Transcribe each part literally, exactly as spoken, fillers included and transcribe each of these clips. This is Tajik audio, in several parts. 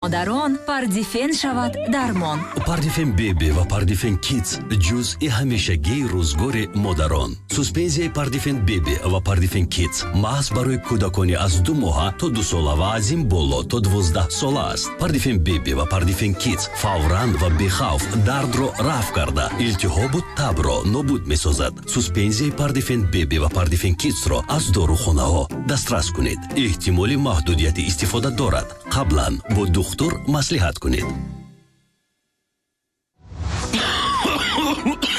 Модарон Пардифен шавад дармон. Пардифен Беби ва Пардифен Кидс ҷузъи ҳамешагии рӯзгори модарон. Суспензияи Пардифен Беби ва Пардифен Кидс маҳз барои кӯдакони аз ду моҳа то дусола ва аз ин боло то дувоздаҳ сола аст. Пардифен Беби ва Пардифен Кидс фавран ва бехавф дардро рафъ карда, илтиҳобу табро нобуд месозад. Суспензияи Пардифен Беби ва Пардифен Кидсро аз дорухонаҳо дастрас кунед. Эҳтимоли маҳдудияти истифода дорад. Қаблан бо духтур маслиҳат кунед.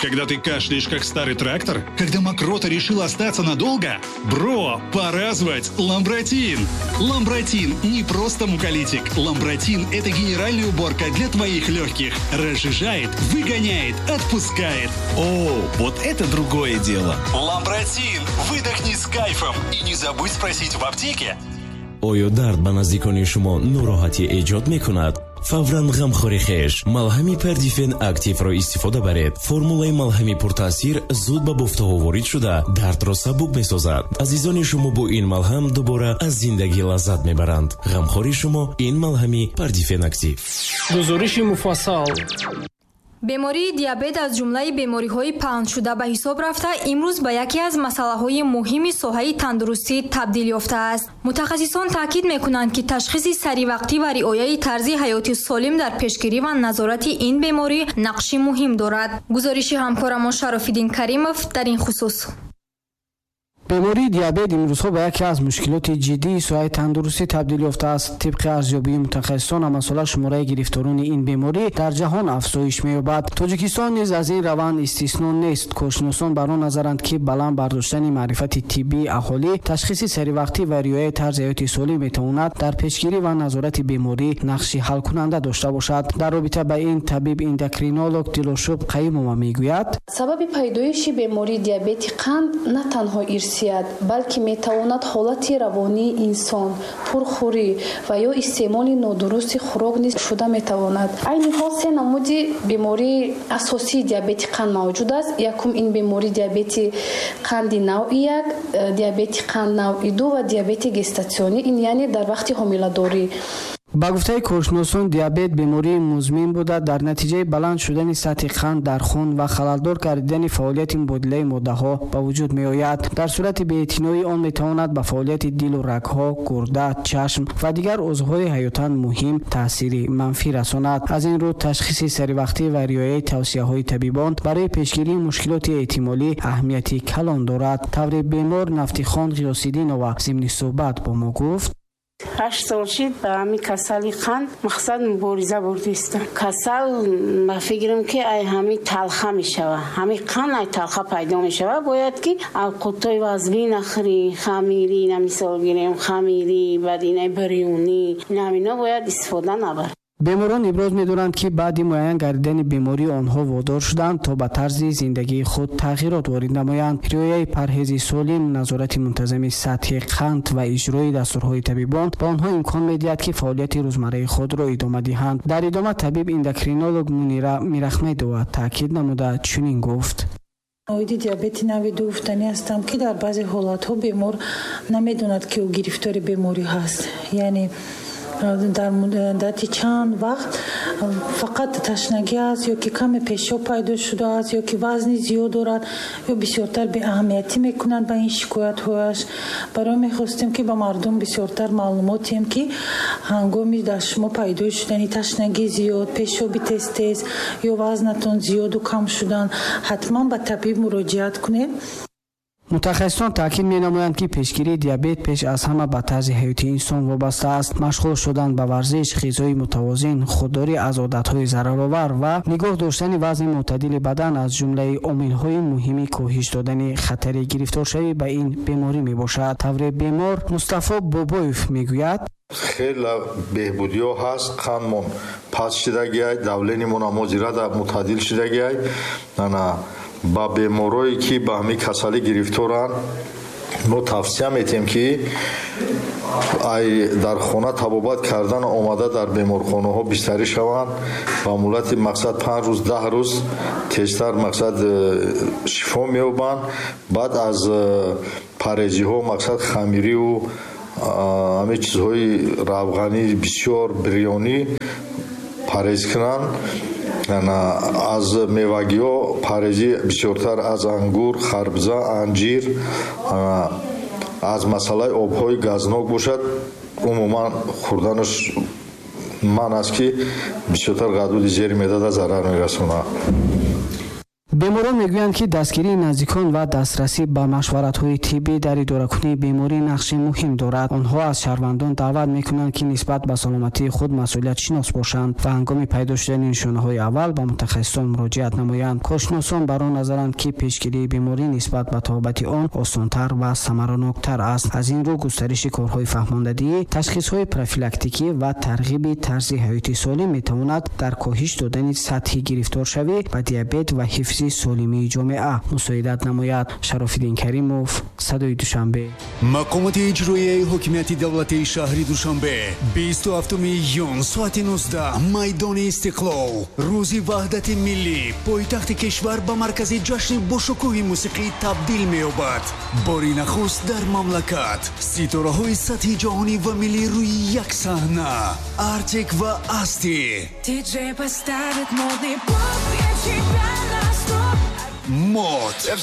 Когда ты кашляешь, как старый трактор? Когда мокрота решила остаться надолго? Бро, пора звать Ламбратин! Ламбратин не просто муколитик. Ламбратин – это генеральная уборка для твоих легких. Разжижает, выгоняет, отпускает. О, вот это другое дело! Ламбратин! Выдохни с кайфом! И не забудь спросить в аптеке. Оё дард ба наздикони шумо нороҳатӣ эҷод мекунад? Фавран ғамхори хеш малҳами Пердифен Активро истифода баред. Формулаи малҳами пуртаъсир зуд ба бофтаҳо ворид шуда, дардро сабук месозад. Азизони шумо бо ин малҳам дубора аз зиндагӣ лаззат мебаранд. Ғамхори шумо ин малҳами Пардифен Актив. Гузориши муфассал. Бемории диабет аз ҷумлаи бемориҳои паҳншуда ба ҳисоб рафта, имрӯз ба яке аз масъалаҳои муҳими соҳаи тандурустӣ табдил ёфтааст. Мутахассисон таъкид мекунанд, ки ташхиси саривақтӣ ва риояи тарзи ҳаёти солим дар пешгирӣ ва назорати ин беморӣ нақши муҳим дорад. Гузориши ҳамкорамон Шарофиддин Каримов дар ин хусус. Бемории диабет имрӯзҳо ба яке аз мушкилоти ҷиддии соҳаи тандурустӣ табдил ёфтааст. Тибқи арзёбии мутахассисон, ҳамасола шумораи гирифторони ин беморӣ дар ҷаҳон афзоиш меёбад. Тоҷикистон низ аз ин раванд истисно нест. Коршиносон бар он назаранд, ки баланд бардоштани маърифати тиббии аҳолӣ, ташхиси саривақтӣ ва риояи тарзи ҳаёти солим метавонад дар пешгирӣ ва назорати беморӣ нақши ҳалкунанда дошта бошад. Дар робита ба ин табиб эндокринолог Дилошуб Қаюмова мегӯяд: Сабаби пайдоиши бемории диабети қанд на танҳо ирсият, балки метавонад ҳолати равонии инсон, пурхӯрӣ ва ё истеъмоли нодурусти хӯрок низ шуда метавонад. Айни ҳол се намуди бемории асосии диабети қанд мавҷуд аст. Якум ин бемории диабети қанди навъи як, диабети қанд навъи ду ва диабети гестатсионӣ, ин яъне дар вақти ҳомиладорӣ. Ба гуфтаи коршиносон, диабет бемории музмин буда, дар натиҷаи баланд шудани сатҳи қанд дар хун ва халалдор гардидани фаъолияти мубодилаи моддаҳо ба вуҷуд меояд. Дар сурати беэътиноӣ он метавонад ба фаъолияти дилу рагҳо, гурда, чашм ва дигар узвҳои ҳаётан муҳим таъсири манфӣ расонад. Аз ин рӯ ташхиси саривақтӣ ва риояи тавсияҳои табибон барои пешгирии мушкилоти эҳтимолӣ аҳамияти калон дорад. Тавре бемор Нафтихон Ғиёсиддинова зимни суҳбат бо мо гуфт: Ҳашт сол шид, ба ҳами касали қанд мақсад мубориза бурдистам. Касал ба фикрам, ки ай ҳами талха мешава, ҳами қанд ай талха пайдо мешава. Бояд ки авқотҳои вазбӣ нахӯрӣ, хамирӣ, на мисол гирем, хамирӣ, баъд инай бирёнӣ, инамино бояд истифода набар. Беморон иброз медоранд, ки баъди муайян гардидани беморӣ онҳо водор шуданд, то ба тарзи зиндагии худ тағйирот ворид намоянд. Риояи парҳези солим, назорати мунтазами сатҳи қанд ва иҷрои дастурҳои табибон ба онҳо имкон медиҳад, ки фаъолияти рӯзмарраи худро идома диҳанд. Дар идома табиб эндокринолог Мунира Мирахмедова таъкид намуда чунин гуфт: Оиди диабети нави ду гуфтанӣ ҳастам, ки дар баъзе ҳолатҳо бемор намедонад, ки ӯ гирифтори беморӣ ҳаст, яъне дар муддати чанд вақт фақат ташнагӣ аст ё ки каме пешоб пайдо шудааст, ё ки вазни зиёд дорад, ё бисёртар беаҳамиятӣ мекунанд ба ин шикоятҳояш. Барои мехостем, ки ба мардум бисёртар маълумот диҳем, ки ҳангоми дар шумо пайдо шудани ташнагии зиёд, пешоби тез тез ё вазнатон зиёду кам шудан, ҳатман ба табиб муроҷиат кунед. Мутахассисон таъкид менамоянд, ки пешгирии диабет пеш аз ҳама ба тарзи ҳаёти инсон вобаста аст. Машғул шудан ба варзиш, ғизои мутавозин, худдорӣ аз одатҳои зараровар ва нигоҳ доштани вазни мӯътадили бадан аз ҷумлаи омилҳои муҳими коҳиш додани хатари гирифторшавӣ ба ин беморӣ мебошад. Тавре бемор Мустафо Бобоев мегӯяд: Хеле беҳбудиҳо ҳаст. Қандмон паст шидагиай, давлениямон ҳамозирада мӯътадил шидагиай. Ана ба беморое, ки ба ҳамин касалӣ гирифторанд, мо тавсия метиҳем, ки ай дар хона табобат кардан омада, дар беморхонаҳо бистарӣ шаванд. Ба муҳлати мақсад панҷ рӯз, даҳ рӯз тезтар мақсад э, шифо меёбанд. Баъд аз э, парҳезиҳо, мақсад хамириву Ҳамин чизҳои равғанӣ бисёр, бирёнӣ парҳез кунанд. Аз мевагиҳо парҳезӣ бисёртар аз ангур, харбза, анҷир. Аз масъалаи обҳои газнок бошад, умуман хӯрданаш манъ аст, ки бисёртар ғадуди зери меъдада зарар мерасонад. Беморон мегӯянд, ки дастгирии наздикон ва дастрасӣ ба машваратҳои тиббӣ дар идоракунии беморӣ нақши муҳим дорад. Онҳо аз шаҳрвандон даъват мекунанд, ки нисбат ба саломатии худ масъулиятшинос бошанд ва ҳангоми пайдо шудани нишонаҳои аввал ба мутахассисон муроҷиат намоянд. Коршиносон бар он назаранд, ки пешгирии беморӣ нисбат ба табобати он осонтар ва самараноктар аст. Аз ин рӯ густариши корҳои фаҳмондадиҳӣ, ташхисҳои профилактикӣ ва тарғиби тарзи ҳаёти солим метавонад дар коҳиш додани сатҳи гирифторшавӣ ба диабет ва ҳифзи солимии ҷомеа мусоидат намояд. Шарофиддин Каримов, Садои Душанбе. Мақомоти иҷроияи ҳокимияти давлатии шаҳри Душанбе, бисту ҳафтуми июн, соати нуздаҳ, майдони Истиқлол. Рӯзи ваҳдати миллӣ. Пойтахти кишвар ба маркази ҷашни бошукӯҳи мусиқӣ табдил меёбад. Бори нахуст дар мамлакат ситораҳои сатҳи ҷаҳонӣ ва миллӣ рӯи як саҳна. Артик ва Асти, Диджей поставит модный поп, я тебя на стоп. Мод.